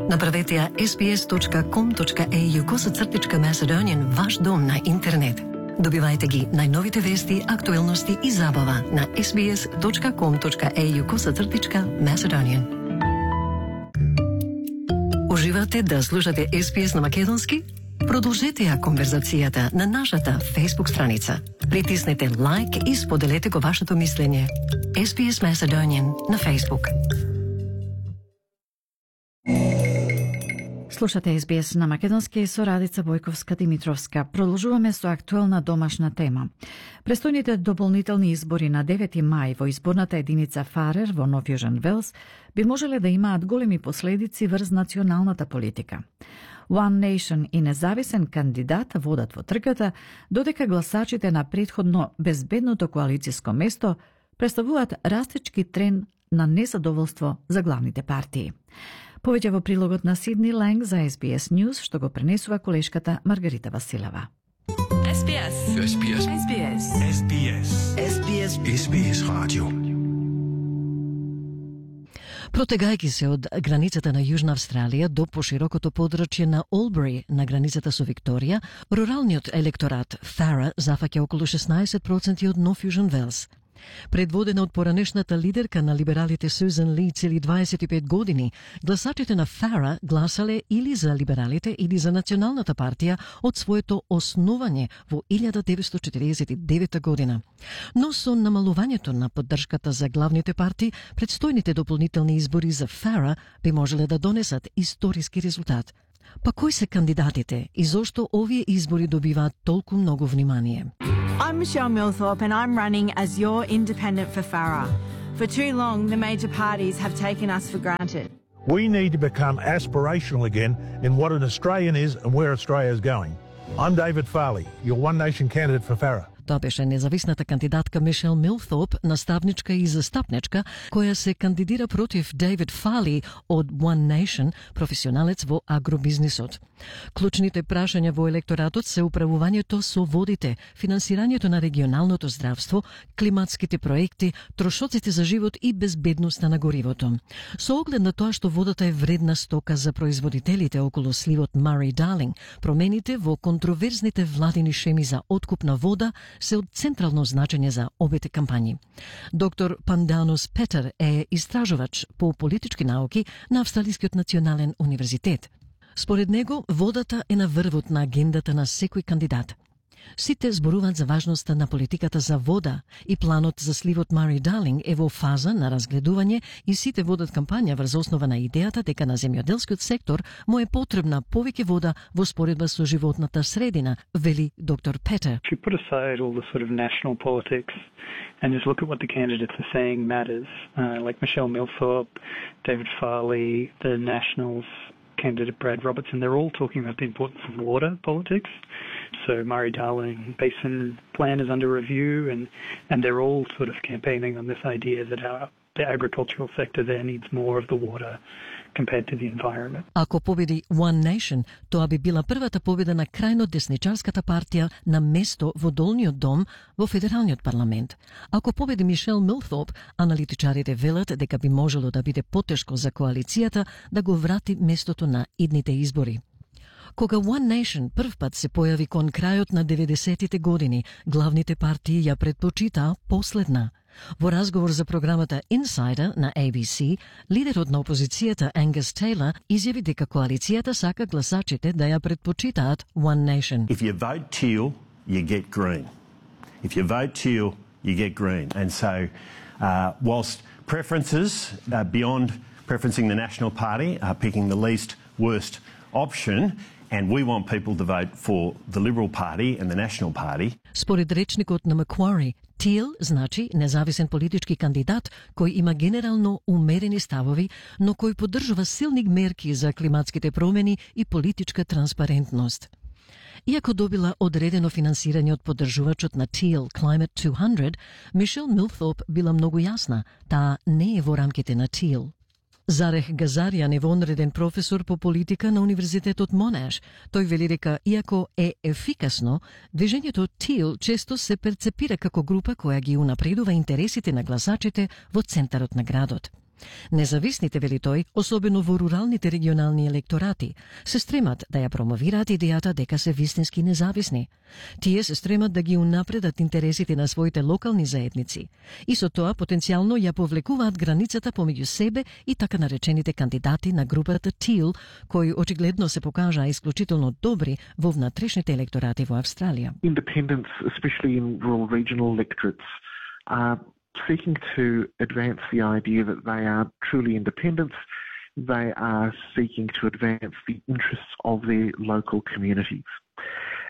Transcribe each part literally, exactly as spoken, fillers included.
Направете ја ес би ес точка ком точка ей ю косацртичка Macedonian ваш дом на интернет. Добивајте ги најновите вести, актуелности и забава на ес би ес точка ком точка ей ю косацртичка Macedonian. Уживате да слушате ес би ес на македонски? Продолжете ја конверзацијата на нашата Facebook страница. Притиснете лайк и споделете го вашето мислење. ес би ес Macedonian на Facebook. Слушате ес би ес на македонски со Радица Бојковска-Димитровска. Продолжуваме со актуелна домашна тема. Престојните дополнителни избори на девети мај во изборната единица Фарер во Нов Јужен Велс би можеле да имаат големи последици врз националната политика. One Nation и независен кандидат водат во трката, додека гласачите на претходно безбедното коалицијско место представуваат растечки тренд на незадоволство за главните партии. Повеќе во прилогот на Сидни Ланг за ес би ес News, што го пренесува колешката Маргарита Василева. ес би ес. ес би ес. ес би ес. ес би ес. ес би ес. ес би ес радио. Протегајќи се од границата на Јужна Австралија до поширокото подрачје на Олбери на границата со Викторија, руралниот електорат Фара зафаќа околу шеснаесет проценти од Нов Јужен Велс. Предводена од поранешната лидерка на либералите Сюзан Ли цели дваесет и пет години, гласачите на Фара гласале или за либералите или за Националната партија од своето основање во илјада деветстотини четиридесет и девета година. Но со намалувањето на поддршката за главните партии, предстојните дополнителни избори за Фара би можеле да донесат историски резултат. Па кои се кандидатите и зошто овие избори добиваат толку многу внимание? I'm Michelle Millthorpe and I'm running as your independent for Farrer. For too long, the major parties have taken us for granted. We need to become aspirational again in what an Australian is and where Australia is going. I'm David Farley, your One Nation candidate for Farrer. Тоа беше независната кандидатка Мишел Милтhoп, наставничка и застапничка, која се кандидира против Дейвид Фали од One Nation, професионалец во агробизнисот. Клучните прашања во електоратот се управувањето со водите, финансирањето на регионалното здравство, климатските проекти, трошоците за живот и безбедноста на горивото. Со оглед на тоа што водата е вредна стока за производителите околу сливот Мари-Дарлинг, промените во контроверзните владини шеми за откуп на вода се од централно значење за обете кампањи. Доктор Панданус Петер е истражувач по политички науки на Австралискиот национален универзитет. Според него, водата е на врвот на агендата на секој кандидат. Сите зборуваат за важноста на политиката за вода и планот за сливот Мари-Дарлинг е во фаза на разгледување и сите водат кампања врз основа на идејата дека на земјоделскиот сектор му е потребна повеќе вода во споредба со животната средина, вели доктор Петер. If you put aside all the sort of national politics and just look at what the candidates are saying matters, uh, like Michelle Millthorpe, David Farley, the Nationals candidate Brad Robertson, they're all talking about the importance of water politics. So Murray-Darling Basin plan is under review, and, and they're all sort of campaigning on this idea that our, the agricultural sector there needs more of the water compared to the environment. Ако победи One Nation, тоа би била првата победа на крајно десничарската партија на место во долниот дом во федералниот парламент. Ако победи Мишел Милтhoп, аналитичарите велат дека би можело да биде потешко за коалицијата да го врати местото на идните избори. Кога One Nation прв пат се појави кон крајот на деветдесетите години, главните партии ја предпочитаа последна. Во разговор за програмата Insider на A B C, лидерот на опозицијата Ангус Тейлор изјави дека коалицијата сака гласачите да ја предпочитаат One Nation. If you vote teal, you get green. If you vote teal, you get green. And so, uh, whilst preferences uh, beyond preferencing the National Party are picking the least worst option, and we want people to vote for the Liberal Party and the National Party. Според речникот на Macquarie, Teal значи независен политички кандидат кој има генерално умерени ставови, но кој поддржува силни мерки за климатските промени и политичка транспарентност. Иако добила одредено финансирање од поддржувачот на Teal Climate двеста, Мишел Милтhoп била многу јасна, таа не е во рамките на Teal. Зарех Газаријан е вонреден професор по политика на Универзитетот Монаш. Тој вели дека, иако е ефикасно, движењето Teal често се перцепира како група која ги унапредува интересите на гласачите во центарот на градот. Независните, вели тој, особено во руралните регионални електорати, се стремат да ја промовираат идејата дека се вистински независни. Тие се стремат да ги унапредат интересите на своите локални заедници и со тоа потенцијално ја повлекуваат границата помеѓу себе и така наречените кандидати на групата Teal, кои очигледно се покажаа исклучително добри во внатрешните електорати во Австралија. Independents, especially in rural regional electorates, are seeking to advance the idea that they are truly independents. They are seeking to advance the interests of their local communities.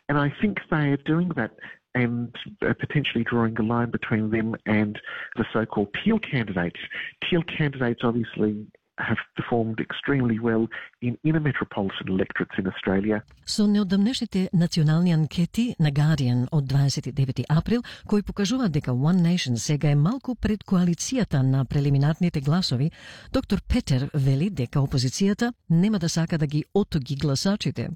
And I think they are doing that and uh, potentially drawing a line between them and the so-called Teal candidates. Teal candidates obviously have performed extremely well in inner metropolitan electorates in Australia. Со неодамнешните национални анкети на Guardian од дваесет и девети април, кои покажуваат дека One Nation сега е малку пред коалицијата на прелиминарните гласови, доктор Петер вели дека опозицијата нема да сака да ги отоги гласачите.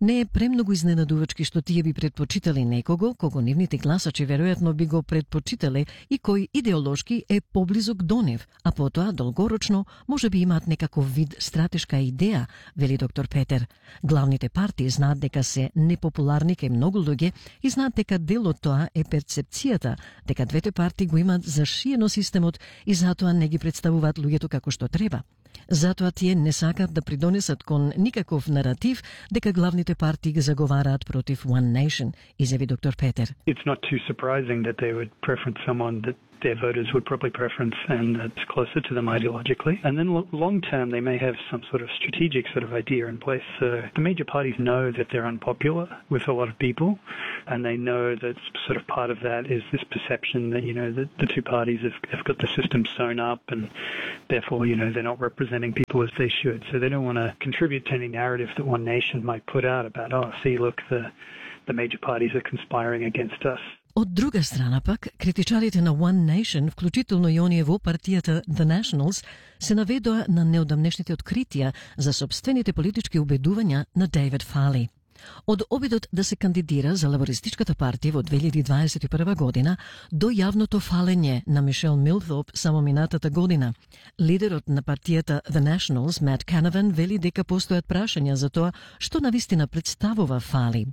Не е премногу изненадувачки што тие би предпочитали некого кого нивните гласачи веројатно би го предпочитале и кој идеолошки е поблизок до нив, а потоа долгорочно може би имаат некаков вид стратешка идеја, вели доктор Петер. Главните партии знаат дека се непопуларни кај многу луѓе и знаат дека дел од тоа е перцепцијата дека двете партии го имаат зашиено системот и затоа не ги представуваат луѓето како што треба. Затоа тие не сакат да придонесат кон никаков наратив дека главните партии ги заговараат против One Nation, изјави доктор Петер. It's not too surprising that they would preference someone that their voters would probably preference and that's closer to them ideologically. And then long term they may have some sort of strategic sort of idea in place. So the major parties know that they're unpopular with a lot of people, and they know that sort of part of that is this perception that, you know, that the two parties have, have got the system sewn up and therefore, you know, they're not representing people as they should. So they don't want to contribute to any narrative that One Nation might put out about, oh, see, look, the, the major parties are conspiring against us. Од друга страна пак, критичарите на One Nation, вклучително и оние во партијата The Nationals, се наведоа на неодамнешните откритија за собствените политички убедувања на Дейвид Фали. Од обидот да се кандидира за лабористичката партија во две илјади дваесет и прва година до јавното фалење на Мишел Милтоп само минатата година. Лидерот на партијата The Nationals, Мат Канаван, вели дека постојат прашања за тоа што навистина представува Фали.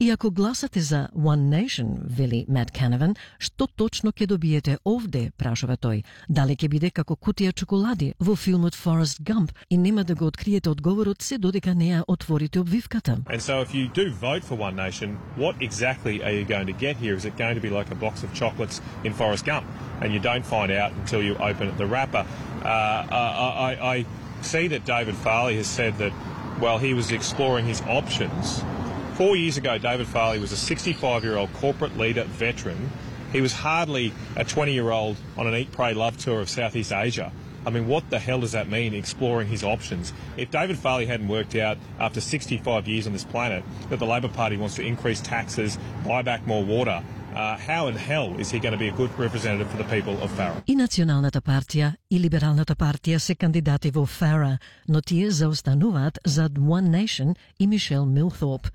И ако гласате за One Nation, вели Мат Канаван, што точно ќе добиете овде, прашува тој. Дали ќе биде како кутија чоколади во филмот Forrest Gump и нема да го откриете одговорот се додека не ја отворите обвивката. And so if you do vote for One Nation, what exactly are you going to get here? Is it going to be like a box of chocolates in Forrest Gump and you don't find out until you open the wrapper? Uh, I, I, I see that David Farley has said that, well, he was exploring his options. Four years ago, David Farley was a sixty-five-year-old corporate leader, veteran. He was hardly a twenty-year-old on an Eat, Pray, Love tour of Southeast Asia. I mean, what the hell does that mean, exploring his options? If David Farley hadn't worked out after sixty-five years on this planet that the Labor Party wants to increase taxes, buy back more water, uh, how in hell is he going to be a good representative for the people of Farah? И Националната партија и Либералната партија се кандидати во Фара, но тие заостануваат зад One Nation и Мишел Милтоп.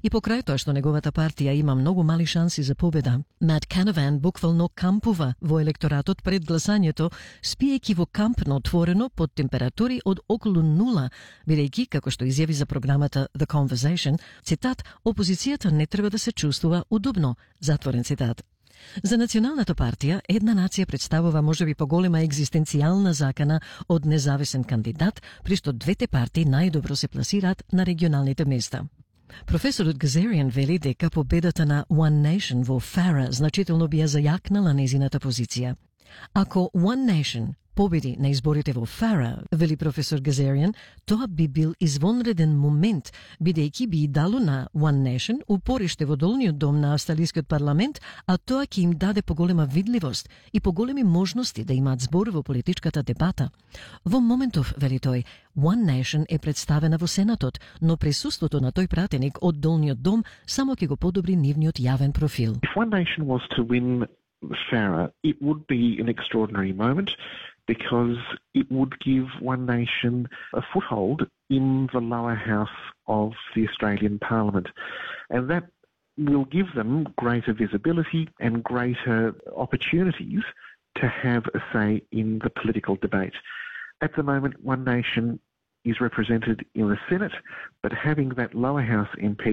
И покрај тоа што неговата партија има многу мали шанси за победа, Мат Канаван буквално кампува во електоратот пред гласањето, спиејќи во кампно отворено под температури од околу нула, бидејќи, како што изјави за програмата The Conversation, цитат, опозицијата не треба да се чувствува удобно, затворен цитат. За Националната партија, една нација представува можеби поголема екзистенцијална закана од независен кандидат, при што двете партии најдобро се пласираат на регионалните места. Професорот Газариан вели дека победата на One Nation во Фара значително би ја зајакнала незината позиција. Ако One Nation победи на изборите во Фара, вели професор Газариан, тоа би бил извонреден момент, бидејќи би дало на One Nation упориште во долниот дом на австралискиот парламент, а тоа ќе им даде поголема видливост и поголеми можности да имаат збор во политичката дебата. Во моментов, вели тој, One Nation е представена во Сенатот, но присуството на тој пратеник од долниот дом само ќе го подобри нивниот јавен профил. If One Nation was to win Farah, it would be an extraordinary moment, because it would give One Nation a foothold in the lower house of the Australian Parliament. And that will give them greater visibility and greater opportunities to have a say in the political debate. At the moment, One Nation is represented in the Senate, but having that lower house M P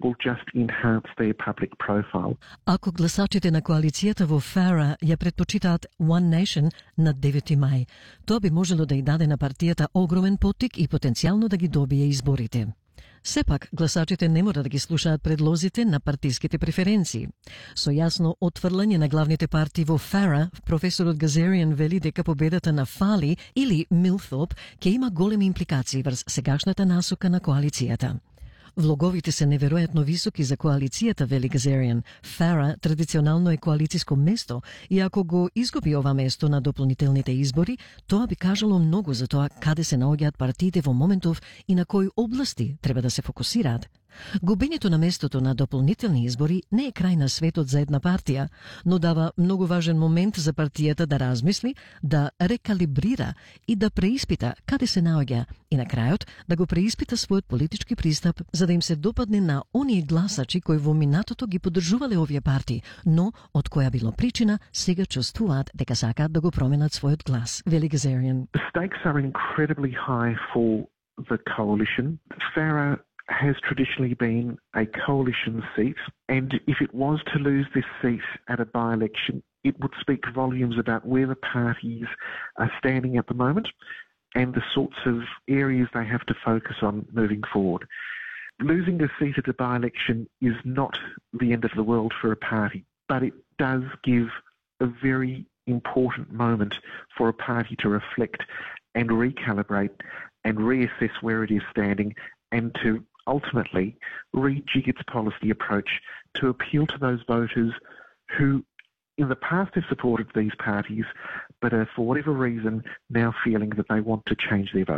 will just enhance their public profile. Ако гласачите на коалицијата во Фара ја предпочитаат One Nation на девети мај, тоа би можело да ја даде на партијата огромен поттик и потенцијално да ги добие изборите. Сепак, гласачите не мора да ги слушаат предлозите на партиските преференции. Со јасно отфрлање на главните партии во Фара, професорот Газариан вели дека победата на Фали или Милфоп ќе има големи импликации врз сегашната насока на коалицијата. Влоговите се неверојатно високи за коалицијата, вели Газариан. Фара традиционално е коалициско место и ако го изгуби ова место на дополнителните избори, тоа би кажало многу за тоа каде се наоѓаат партиите во моментов и на кои области треба да се фокусираат. Губењето на местото на дополнителни избори не е крај на светот за една партија, но дава многу важен момент за партијата да размисли, да рекалибрира и да преиспита каде се наоѓа и на крајот да го преиспита својот политички пристап за да им се допадне на оние гласачи кои во минатото ги поддржувале овие партии, но од која било причина сега чувствуваат дека сакаат да го променат својот глас. Вели Газариан. The stakes are incredibly high for the coalition. Farah has traditionally been a coalition seat, and if it was to lose this seat at a by-election, it would speak volumes about where the parties are standing at the moment and the sorts of areas they have to focus on moving forward. Losing a seat at a by-election is not the end of the world for a party, but it does give a very important moment for a party to reflect and recalibrate and reassess where it is standing and to ultimately rejig its policy approach to appeal to those voters who in the past have supported these parties but are for whatever reason now feeling that they want to change their vote.